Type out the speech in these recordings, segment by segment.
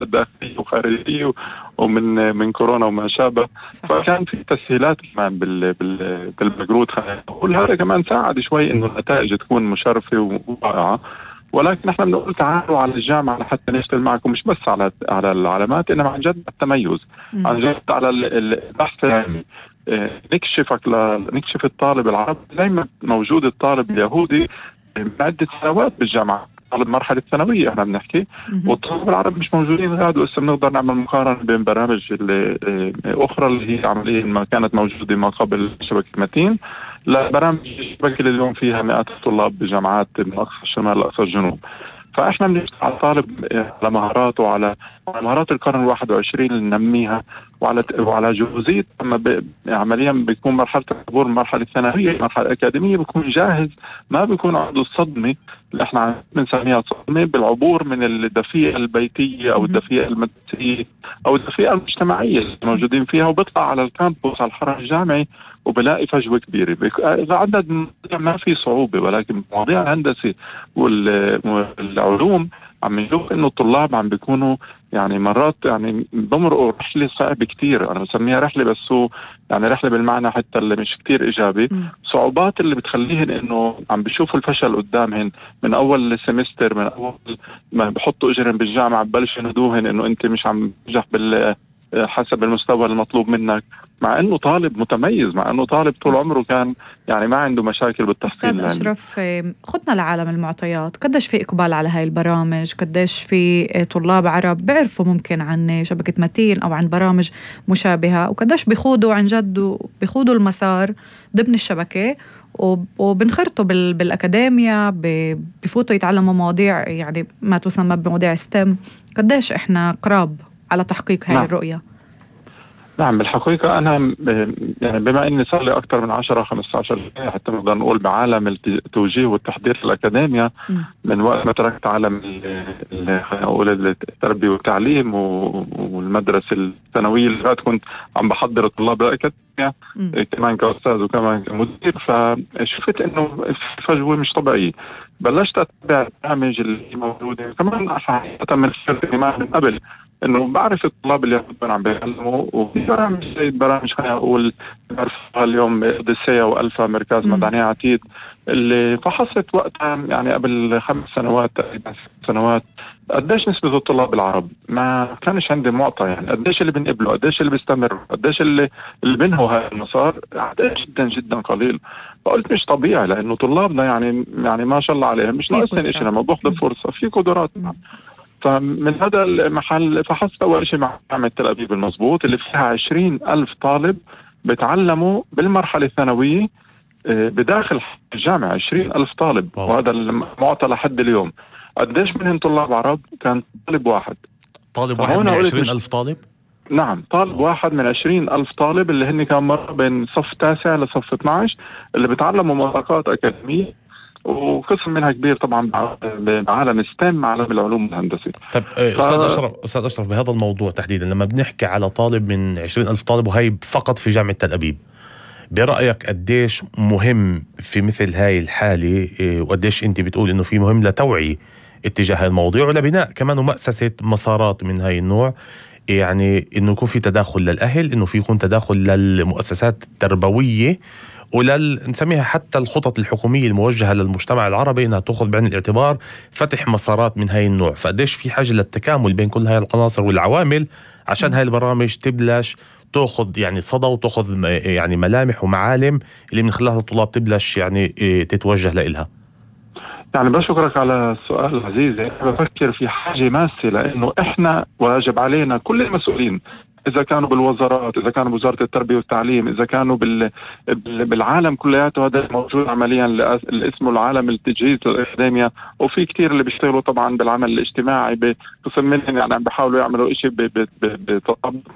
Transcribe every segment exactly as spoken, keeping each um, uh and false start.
داخلية وخارجية ومن من كورونا وما شابه. فكان في تسهيلات كمان بال بال بالمجهود، خلينا نقول هذا كمان ساعد شوي إنه النتائج تكون مشرفة ورائعة. ولكن نحن بنقول تعالوا على الجامعة لحتى نشتغل معكم، مش بس على على العلامات، إنما عن جد التميز، م. عن جد على البحث العلمي. نكشفك ل... نكشف الطالب العربي زي ما موجود الطالب اليهودي من عدة سنوات بالجامعة، طالب مرحلة ثانوية احنا بنحكي، والطالب العربي مش موجودين غاد. وإسا بنقدر نعمل مقارنة بين برامج الأخرى اللي هي عمليا ما كانت موجودة ما قبل شبكة متين لبرامج الشبكة اللي اليوم فيها مئات الطلاب بجامعات من أقصى الشمال لأقصى الجنوب. فإحنا بنشتغل على الطالب على مهاراته وعلى مهارات القرن الواحد وعشرين اللي ننميها، وعلى وعلى جهوزية أما ب... عمليا بيكون مرحلة العبور المرحلة الثانوية المرحلة الأكاديمية بيكون جاهز، ما بيكون عنده الصدمة اللي احنا بنسميها صدمة بالعبور من الدفيئة البيتية أو الدفيئة المدرسية أو الدفيئة المجتمعية اللي موجودين فيها، وبيطلع على الكامبوس على الحرم الجامعي وبلاقي فجوة كبيرة. إذا عدد ما في صعوبة، ولكن مواضيع الهندسة والعلوم عم نشوف إنه الطلاب عم بيكونوا يعني مرات يعني بمرقوا رحلة صعبة كتير. أنا بسميها رحلة، بس هو يعني رحلة بالمعنى حتى اللي مش كتير إيجابي. م. صعوبات اللي بتخليهن إنه عم بيشوفوا الفشل قدامهن من أول السمستر، من أول ما بحطوا إجرهم بالجامعة ببلش يندوهن إنه أنت مش عم تنجح بال حسب المستوى المطلوب منك، مع انه طالب متميز، مع انه طالب طول عمره كان يعني ما عنده مشاكل بالتحصيل. أستاذ أشرف، خدنا لعالم المعطيات، قديش في إقبال على هاي البرامج؟ قديش في طلاب عرب بيعرفوا ممكن عن شبكة متين أو عن برامج مشابهة، وقديش بيخوضوا عن جد بيخوضوا المسار ضمن الشبكة وبنخرطوا بالأكاديمية، بفوتوا يتعلموا مواضيع يعني ما تسمى بمواضيع ستيم؟ قديش إحنا قراب على تحقيق هاي نعم. الرؤية؟ نعم، بالحقيقة أنا يعني بما إني صار لي أكثر من عشرة خمسة عشر سنة حتى نقدر نقول بعالم التوجيه والتحضير في الأكاديمية، م. من وقت ما تركت عالم خلينا نقول التربية والتعليم والمدرسة الثانوية اللي بعد كنت عم بحضر الطلاب الأكاديمية كمان كأستاذ وكمان كمدير، فشفت إنه فجوة مش طبيعية. بلشت أتابع البرامج اللي موجودة كمان حتى من من قبل إنه بعرف الطلاب اللي يكونوا عم بيعلموا، وفي برامج زي برامج خلينا نقول بعرفها اليوم أوديسيا وألفا مركز مدني عتيد اللي فحصت وقتها يعني قبل خمس سنوات تقريبا ست سنوات قديش نسبة الطلاب العرب. ما كانش عندي معطى يعني قديش اللي بنقبله، قديش اللي بيستمر، قديش اللي اللي بينهوا هذا المسار، عدد جدا جدا قليل. فقلت مش طبيعي لأنه طلابنا يعني يعني ما شاء الله عليهم مش ناقصين شيء لما باخذ فرصة في قدرات. فمن هذا المحل فحصت أول شيء مع جامعة تل أبيب المضبوط اللي فيها عشرين ألف طالب بتعلموا بالمرحلة الثانوية بداخل الجامعة، عشرين ألف طالب. أوه. وهذا المعطى لحد اليوم. قديش منهم طلاب عرب؟ كان طالب واحد. طالب واحد من عشرين ألف طالب؟ نعم، طالب واحد من عشرين ألف طالب اللي هن كان مرة بين صف تاسع لصف اثني عشر اللي بتعلموا مساقات أكاديمية، وقسم منها كبير طبعا بعالم ستيم، عالم العلوم الهندسية. طب أستاذ ف... أشرف أستاذ أشرف بهذا الموضوع تحديدا لما بنحكي على طالب من عشرين ألف طالب وهي فقط في جامعة تل أبيب، برأيك قديش مهم في مثل هاي الحالة، وقديش أنت بتقول إنه في مهم لتوعي اتجاه الموضوع ولبناء كمان ومؤسسة مسارات من هاي النوع، يعني إنه يكون في تداخل للأهل، إنه في يكون تداخل للمؤسسات التربوية ولل نسميها حتى الخطط الحكومية الموجهة للمجتمع العربي إنها تأخذ بعين الاعتبار فتح مسارات من هاي النوع. فقديش في حاجة للتكامل بين كل هاي العناصر والعوامل عشان هاي البرامج تبلش تأخذ يعني صدى وتأخذ يعني ملامح ومعالم اللي من خلالها الطلاب تبلش يعني تتوجه لإلها. يعني بشكرك على السؤال العزيز. أنا بفكر في حاجة ماسة، لأنه إحنا واجب علينا كل المسؤولين، إذا كانوا بالوزارات، إذا كانوا بوزارة التربية والتعليم، إذا كانوا بال... بالعالم كلياته، هذا موجود عمليا اللي اسمه العالم التجهيز للأكاديمية، وفي كتير اللي بيشتغلوا طبعا بالعمل الاجتماعي بقسم منهم يعني عم بيحاولوا يعملوا إشي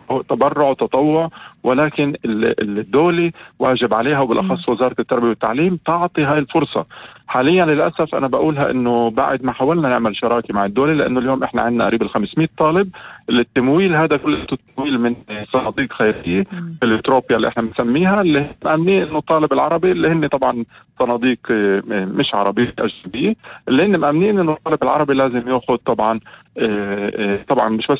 بتبرع وتطوع، ولكن الدولة واجب عليها وبالأخص وزارة التربية والتعليم تعطي هاي الفرصة. حاليا للأسف أنا بقولها إنه بعد ما حاولنا نعمل شراكة مع الدولة، لأنه اليوم إحنا عندنا قريب الخمسمائة طالب، التمويل هذا كله تمويل من صناديق خيرية الإتروبيا اللي إحنا بنسميها، اللي مأمنين إنه الطالب العربي اللي هن طبعا صناديق مش عربية أجنبية، اللي هن مأمنين إنه الطالب العربي لازم يأخذ طبعا طبعا مش بس